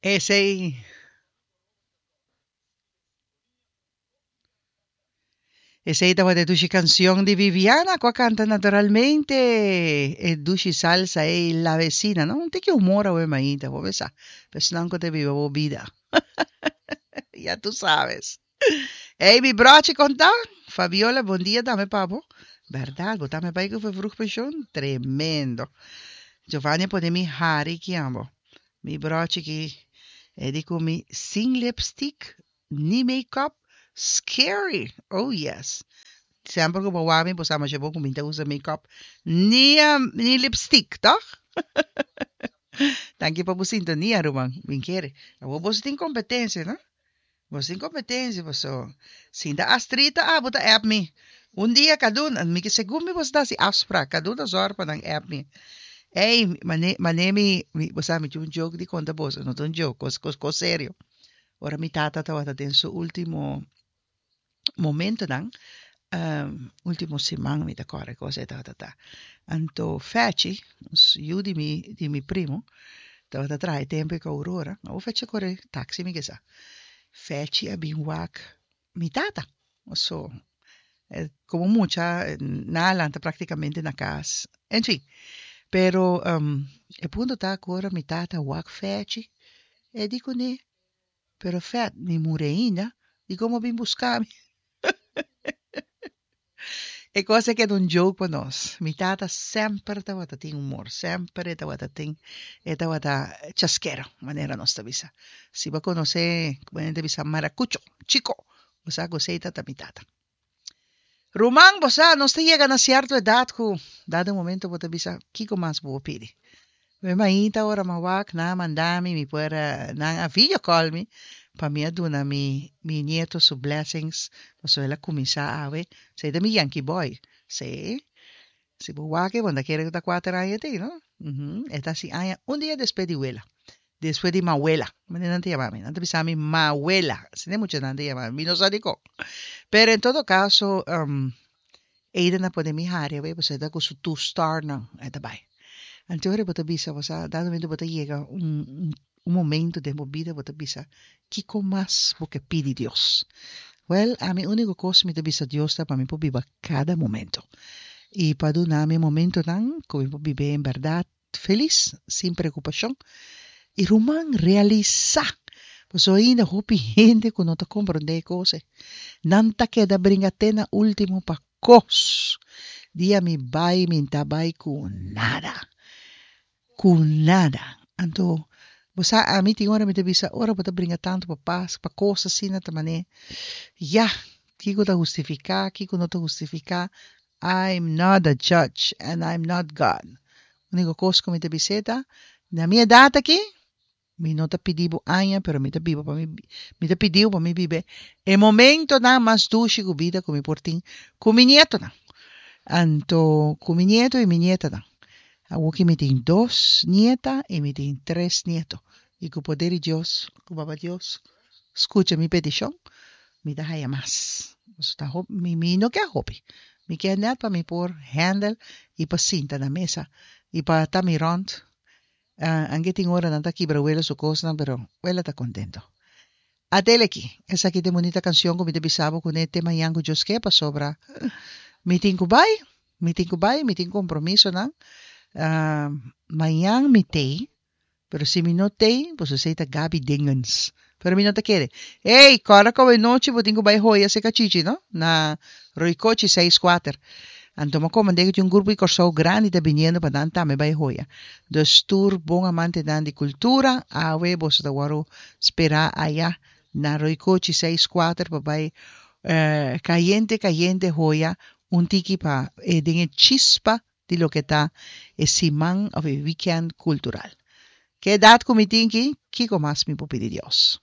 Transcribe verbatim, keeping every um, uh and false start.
Esei Esei tabata e dushi cancion di Viviana cu a canta naturalmente e dushi salsa ei La Vecina, no? Un tiki humor awe mainta, bo sa. Personan cu ta biba bo bida. Ya tu sabes. Ey, mi brochi conta? Fabiola, bon dia tambe pa bo. Berdad, bo tambe bay cu vervroeg pensioen? Tremendo. Giovanni a pone mi hari ki ambo. Mi brochi ki e di cu mi sin lipstick ni make-up. Scary! Oh yes. Semper cu bo wak mi, bo sa masha bon cu mi ta usa make-up ni, um, ni lipstick, toch? Danki pa bo sintonia, ruman. Min kere. Awor boso tin competencia, no? Boso tin competencia, boso. Sinta Astrita, ah, bo ta app mi. Un dia kadun, mi ke segun mi boso ta hasi afspraak, kadun ta zorg pa nan app mi. Ey, mane, mane mi, mi, bo sa, mi tin un joke di konta boso, no ta un joke, kos, kos, kos serio. Ora mi tata tabata den su ultimo momentonan, um, ultimo siman mi ta kòrda kos e tabata ta. Anto Fechi, yu di mi, di mi primo, tabata traha e tempo ku Aurora. Awor Fechi a kore taxi mi ke sa. Fechi a bin wak mi tata. So, eh, komo mucha, nan a lanta praktikamente na kas. En fin. Pero um, e punto ta ku ora mi tata wak Fechi, e di kuné, pero Fet, mi muri ainda, di kon bo bin buska mi? E kos a keda un joke pa nos. Mi tata semper tabata tin humor, semper e tabata tin, e tabata chaskero, manera nos ta bisa. Si bo konosé, komo hende ta bisa, maracucho, chiko, bo sa ku esei ta mi tata. Ruman, bo sa, nos ta yega na sierto edat ku dado momento bo ta bisa, kiko mas bo por pidi? Mi mainta ora m'a wak, nan a manda mi, mi por, nan a video call mi, pa mi a duna mi mi nieto su blessings, pasobra el a kuminsá awe, esei ta mi yankee boy, sí, si bo wak e bo no ta kere ku ta kuater aña tin, no? Uhum, e ta hasi aña un dia despues di wela, despues di mawela, manera nan ta yama mi, nan ta bisa mi mawela, asina e muchanan ta yama mi, mi no sa dikon, pero en todo kaso, Aiden a pone mi hari awe pasobra e ta ku su two starnan e ta bai. Anto ora bo ta bisa bo sa dado momento bo ta yega un un momento den bo bida bo ta bisa kiko mas bo ke pidi Dios? Wel ami uniko kos mi ta bisa Dios ta pa mi por biba kada momento i pa duna mi momentonan ku mi por biba en bèrdat felis sin preokupashon i ruman realisá pasobra ainda hopi hende ku no ta komprondé e kos ei nan ta keda bringa te na último pa kos. Dia mi bai mi n'ta bai ku nada, ku nada. Anto bo sa ami tin ora mi ta bisa ora bo ta bringa tantu pa pas pa kos asina ta manera ya kiko ta hustifiká kiko no ta hustifiká I'm not a judge and I'm not God. Úniko kos ku mi ta bis'é ta na mi edat aki mi no ta pidi bo aña pero mi ta biba pa mi mi ta pidiu pa mi biba e momentonan mas dushi ku bida ku mi por tin ku mi nietonan. Anto ku mi nieto i mi nietanan. Awor ki mi tin dos nieta i mi tin tres nieto i ku poder di Dios ku Baba Dios skucha mi petishon mi ta haya mas. Pasobra ta hopi mi mi no ke hopi mi ke nèt pa mi por handle i pa sinta na mesa i pa ta mi rònt. Anke tin ora nan ta kibra wela su kosnan pero wela ta kontento. Adele aki, esaki ta e bunita kanshon ku mi ta bisa bo kuné te mañan ku Dios ke pasobra mi tin ku bai, mi tin ku bai, mi tin kompromisonan. Mañan mi tei, pero si mi no tei, pues esei ta Gaby Dingens. Pero mi no ta kere. Ey, kòrda ku awe nochi bo tin ku bai hoya seka Chichi, no? Na Roycochi seis kuater. Anto mi a komand'é ku tin un grupo di Kòrsou grandi ta biniendo pa nan tambe bai hoya. Dus tur bon amantenan di kultura, awe boso ta wòrdu sperá aya na Roycochi seis kuater pa bai kayente kayente hoya un tiki pa e den e chispa di loke ta e siman òf e wikènt kultural. Ke edat ku mi tin ki, kiko mas mi por pidi Dios?